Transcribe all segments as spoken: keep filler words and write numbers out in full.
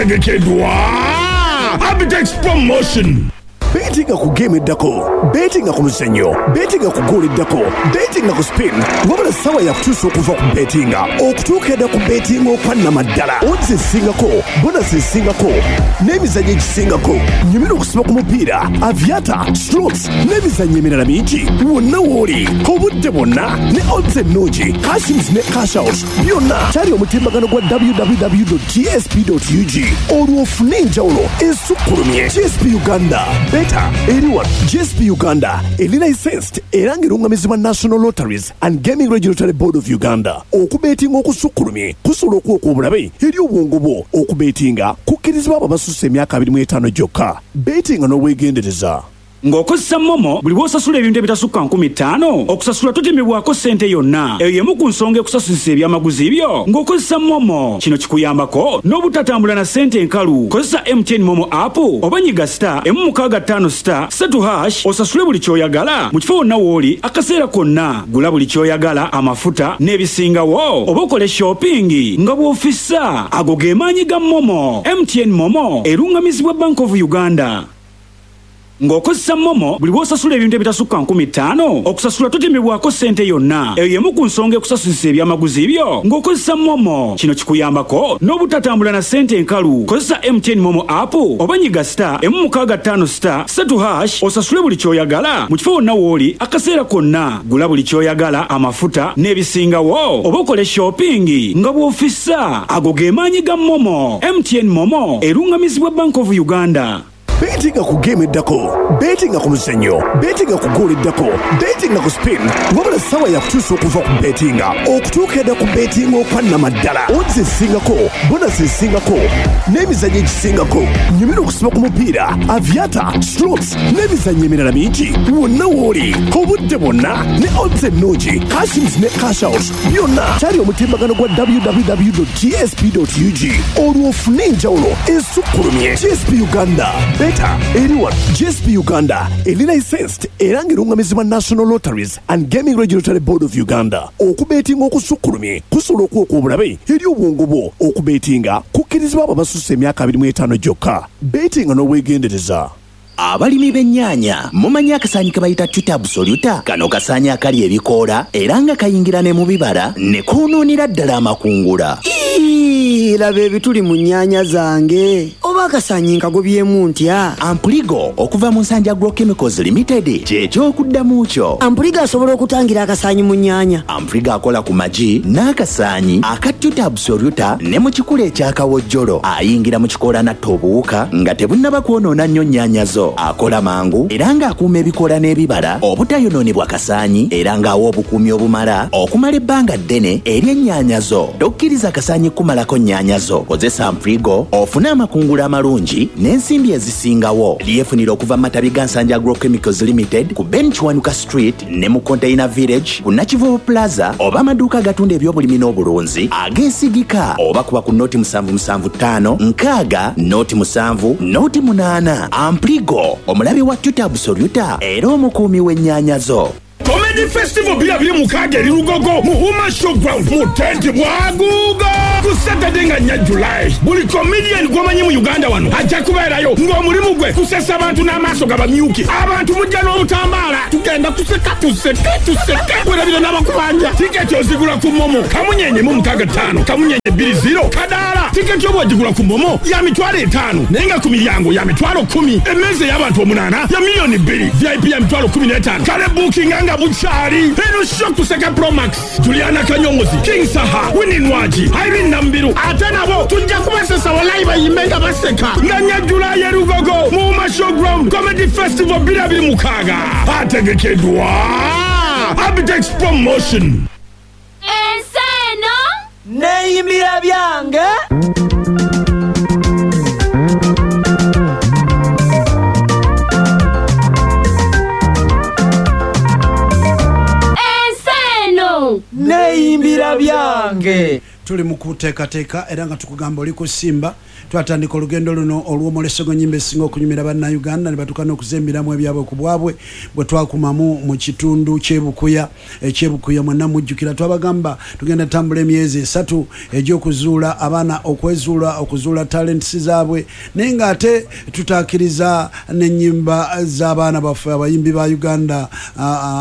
Ategekeddwa Abitex Promotion. Betinga ku game eddako, betinga ku muzannyo, betinga ku goal eddako, betinga ku spin. Wabula ssaawa yakutuusa okuva ku betinga okutuuka edda ku betinga okwannamaddala. Odds esingako, bonus esingako n'emizannyo egisingako. Nyumira okusiba ku mupiira, aviator, slots n'emizannyo emirala mingi wonna w'oli, obudde bwonna, ne odds ennungi, cashins ne cash out byonna. Kyali omutimbagano gwa W W W G S P U G olwo ofune enjawulo esukkulumye. G S P Uganda, beta eri wano. G S P Uganda eri licensed era ng'erungamizibwa National Lotteries and Gaming Regulatory Board of Uganda. Okubeetinga okusukkulumye kusobola okuwoka obulabe eri obwongo bwo. Okubeetinga kukkirizibwa abo abasussa emyaka abiri mu etaano gyokka. Beetinga n'obwegendereza. Ng'okozesa MoMo, buli bw'osasula ebintu ebitasukka nkumi ttaano, okusasula totemebwako ssente yonna. Eyo y'emu ku nsonga ekusasulisa ebyamaguzi byo ng'okozesa MoMo. Kino kikuyambako n'obutatambula na ssente enkalu. Kozesa M T N MoMo app oba nyiga star emu mukaaga ttaano star ssatu hash osasule buli ky'oyagala mu kifo wonna w'oli akaseera konna. Gula buli ky'oyagala, amafuta n'ebisingawo, oba okole shopping nga bw'ofissa. Ago ge maanyi ga MoMo. M T N MoMo erungamizibwa Bank of Uganda. Ng'okozesa MoMo, buli bw'osasula ebintu ebitasukka nkumi ttaano, okusasula totemebwako ssente yonna. Eyo y'emu ku nsonga ekusasulisa ebyamaguzi byo ng'okozesa MoMo. Kino kikuyambako n'obutatambula na ssente enkalu. Kozesa M T N MoMo app oba nyiga star emu mukaaga ttaano star ssatu hash osasule buli ky'oyagala mu kifo wonna w'oli akaseera konna. Gula buli ky'oyagala, amafuta n'ebisingawo, oba okole shopping nga bw'ofissa. Ago ge maanyi ga MoMo. M T N MoMo erungamizibwa Bank of Uganda. Betinga ku game eddako, betinga ku muzannyo, betinga ku goal eddako, betinga ku spin. Wabula ssaawa yakutuusa okuva ku betinga okutuuka edda ku betinga okwannamaddala. Odds esingako, bonus esingako n'emizannyo egisingako. Nyumira okusiba ku mupiira, aviator, slots n'emizannyo emirala mingi wonna w'oli, obudde bwonna, ne odds ennungi, cashins ne cash out byonna. Kyali omutimbagano gwa W W W G S P U G olwo ofune enjawulo esukkulumye. G S P Uganda, beta eri wano. G S P Uganda eri licensed era ng'erungamizibwa National Lotteries and Gaming Regulatory Board of Uganda. Okubeetinga okusukkulumye kusobola okuwoka obulabe eri obwongo bwo. Okubeetinga kukkirizibwa abo abasussa emyaka abiri mu etaano gyokka. Beetinga n'obwegendereza. Abalimi b'ennyaanya, mumanyi akasaanyi ke bayita Tuta absoluta? Kano kasaanyi akali ebikoola era nga kayingira ne mu bibala ne koonoonera ddala amakungula. Ii, laba ebituli mu nnyaanya zange, oba akasaanyi nkagobyemu ntya? Ampuligo okuva mu Nsanja Agrochemicals Limited kyekyokuddamu kyo. Ampuligo asobola okutangira akasaanyi mu nnyaanya? Ampuligo akola ku magi n'akasaanyi aka Tuta absoluta ne mu kikula ekyakawojjolo. Ayingira mu kikoola n'atta obuwuka nga tebunnaba kwonoona nnyo nnyaanya zo. Akola mangu era ng'akuuma ebikoola n'ebibala obutayonoonebwa kasaanyi, era ng'awa obukuumi obumala okumala ebbanga ddene eri ennyaanya zo. Tokkiriza kasaanyi kumalako nnyaanya zo. Kozesa Amprigo ofune amakungula amalungi n'ensimbi ezisingawo. Lyefunira okuva mu matabi ga Nsanja Agrochemicals Limited ku Ben Kiwanuka Street ne mu Container Village ku Nakivubo Plaza, oba amaduuka agatunda ebyobulimi n'obulunzi ageesigika, oba kuba ku noti musanvu musanvu ttaano nkaaga noti musanvu noti munaana. Ampligo, omulabe wa Tuta absoluta era omukuumi w'ennyaanya zo. Comedy Festival bbiri abiri mukaaga eri Lugogo mu Huma Showground mu tenti bwaguuga ku Saturday nga nnya July. Buli comedian gw'omanyi mu Uganda wano ajja kubeerayo ng'omulimu gwe kusesa abantu n'amaaso gabamyuki. Abantu mujja n'obutambaala, tugenda kuseka, tuseke, tuseke, werabire n'abakubanja. Tiketi ozigula ku MoMo kamunyenye mu mukaaga ttaano kamunyenye bbiri zero kadaala. Tiketi oba ogigula ku MoMo ya mitwalo etaano, naye nga ku miryango ya mitwalo kumi. Emmeeza ey'abantu omunaana ya miliyoni bbiri, V I P ya mitwalo kumi n'etaano. Kale buukinga nga bukyali. Eno show kuseka Promax, Juliana Kanyomozi, King Saha, Winnie Nwagi, Irene Nambiru, ate nabo tujja kubasesa walayi bayimbe nga baseka. Nga nnya Julayi e Lugogo mu Uma Showground, Comedy Festival bbiri abiri mukaaga. Ategekeddwa Abitex Promotion. Ensi eno neeyimbira byange. Ensi eno neeyimbira byange. Tuli mu kuteekateeka era nga tukugamba oli kusimba. Twatandika olugendo luno olw'omwoleso gw'ennyimba esinga okunyumira Bannayuganda ne batuuka n'okuzembiramu ebyabwe ku bwabwe bwe twakumamu mu kitundu ky'Ebukuya. Ekyebukuya mwenna mujjukira twabagamba tugenda tambula emyezi esatu egy'okuzuula abaana, okwezuula, okuzuula talents zaabwe, naye ng'ate tutaakiriza n'ennyimba z'abaana baffe abayimbi ba Uganda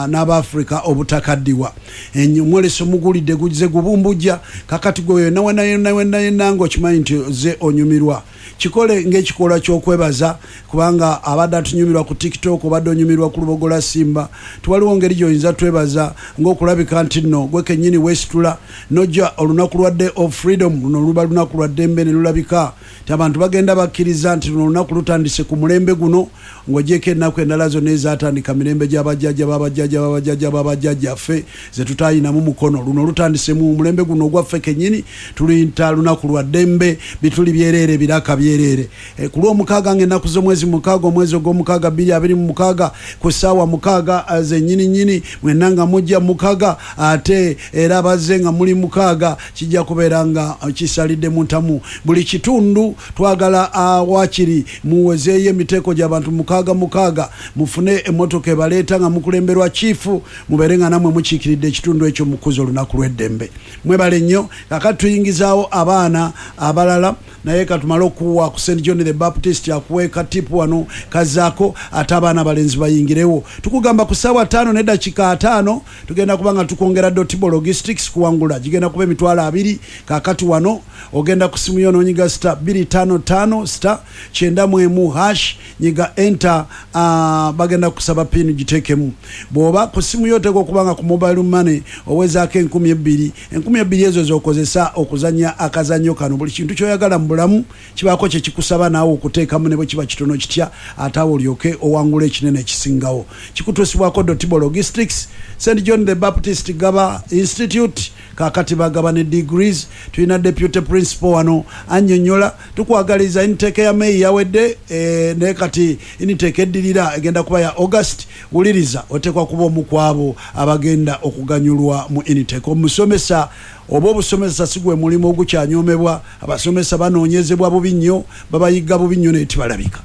n'Abafrika obutakaddiwa. Omwoleso mugulidde guzze gubumbujja. Kakati gwe yonna wena yonna wena yonna ng'okimanyi nti ze onyumirwa, kikole ng'ekikolwa ky'okwebaza, kubanga abadde atunyumirwa ku TikTok, obadde onyumirwa ku Lubogola Simba, tiwaliwo ngeri gy'oyinza twebaza ng'okulabika nti nno gwe kennyini weesitula n'ojja olunaku lwa Day of Freedom. Luno luba lunaku lwa ddembe ne lulabika nti abantu bagenda bakkiriza nti luno olunaku lutandise ku mulembe guno, ng'ogyeko ennaku endala zonna ezaatandika mirembe gy'abajjajja b'abajjajja b'abajjajja b'abajjajjaffe ze tutayinamu mukono. Luno lutandise mu mulembe guno ogwaffe kennyini, tuluyita lunaku lwa ddembe, bituli byereere, biraka byereere. E, ku lw'omukaaga ng'ennaku z'omwezi mukaaga, omwezi ogw'omukaaga bbiri abiri mu mukaaga, ku ssaawa mukaaga zennyini nnyini, mwenna nga mujja mukaaga, ate era abazze nga muli mukaaga, kijja kubeera nga kisalidde mu ntamu. Buli kitundu twagala awakiri muwezeeyo emiteeko gy'abantu mukaaga mukaaga, mufune emmotoka ebaleeta nga mukulemberwa chiifu, mubeere nga nammwe mukiikiridde ekitundu ekyo mukuza olunaku lw'eddembe. Mwebale nnyo. Kakati tuyingizaawo abaana abalala, naye katumale okuwa ku Saint John the Baptist akuwe katipu wano kazaako, ate abaana abalenzi bayingirewo. Tukugamba ku ssaawa ttaano n'eddakiika ataano tugenda kuba nga tukwongera Dotibo Logistics kuwangula, gigenda kuba emitwalo abiri. Kakati wano ogenda ku simu yo n'onyiga star bbiri ttaano ttaano star kyenda mu emu hash, nyiga enter. uh, bagenda kusaba pin giteekemu. Bw'oba ku simu yo oteekwa okuba nga ku mobile money owezaako enkumi ebbiri. Enkumi ebbiri ezo z'okozesa okuzannya akazannyo kano. Buli kintu ky'oyagala mu bulamu kibaako kye kikusaba naawe okuteekamu, ne bwe kiba kitono kitya, ate awo olyoke owangula ekinene ekisingawo. Kikutuusibwako Dotibo Logistics, Saint John the Baptist Gaba Institute. Kakati bagaba ne degrees. Tulina deputy principal wano annyonnyola. Tukwagaliza intake ya May yawedde, e, naye kati intake eddirira egenda kuba ya August. Wuliriza, oteekwa kuba omu ku abo abagenda okuganyulwa mu intake. Omusomesa oba obusomesa si gwe mulimu ogukyanyomebwa. Abasomesa banoonyezebwa bubi nnyo, babayigga bubi nnyo, naye tibalabika.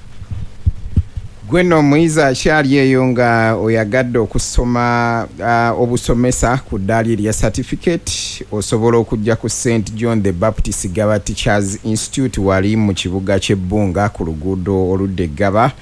Gwe nno omuyizi akyali eyo nga oyagadde okusoma uh, obusomesa ku ddaali erya certificate, osobola okujja ku Saint John the Baptist Gaba Teachers Institute wali mu kibuga ky'Ebbunga ku luguudo oludda Eggaba.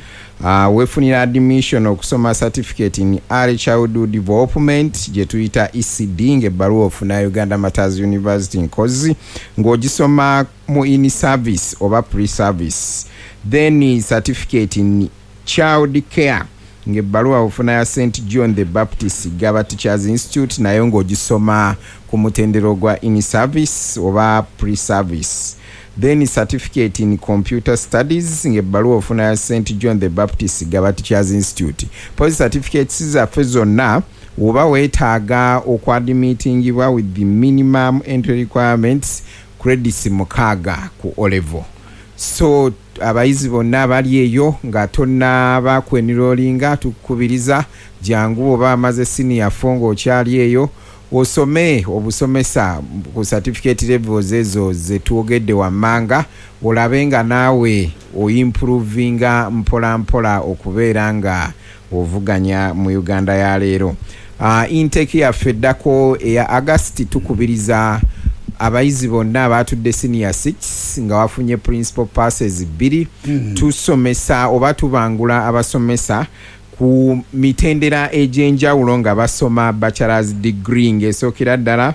Uh, weefunira admission okusoma certificate in early childhood development gye tuyita E C D, ng'ebbaluwa ofuna Uganda Martyrs University Nkozi, ng'ogisoma mu in service oba pre service. Then certificate in child care, ng'ebbaluwa ofuna ya Saint John the Baptist Gaba Teachers Institute, nayo ng'ogisoma ku mutendero gwa in service oba pre service. Then certificate in computer studies, ng'ebbaluwa ofuna ya Saint John the Baptist Gaba Teachers Institute. Pozi certificates zaffe zonna oba weetaaga okwadimitingibwa with the minimum entry requirements, credits mukaaga ku O level. So abayizi bonna abali eyo nga tonnaba kwenrolinga, tukukubiriza jangu, oba amaze senior four ng'okyali eyo, osome obusomesa ku certificate levels ezo zetwogedde wammanga, olabe nga naawe oimprovinga mpola mpola okubeera nga ovuganya mu Uganda ya leero. uh, intake yaffe eddako eya August, tukubiriza abayizi bonna abatudde senior six nga wafunye principal passes bbiri. mm. Tusomesa oba tubangula abasomesa ku mitendera egy'enjawulo nga basoma bachelors degree, ng'esookera ddala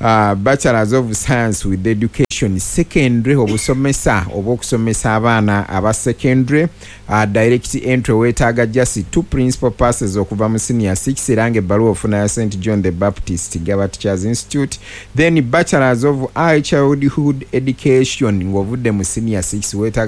uh, Bachelors of Science with Education secondary, obusomesa oba okusomesa abaana aba secondary. uh, direct entry weetaaga just two principal passes okuva mu senior six, era ng'ebbaluwa ofuna ya Saint John the Baptist Gaba Teachers Institute. Then Bachelors of Early Childhood Education, ng'ovudde mu senior six weetaaga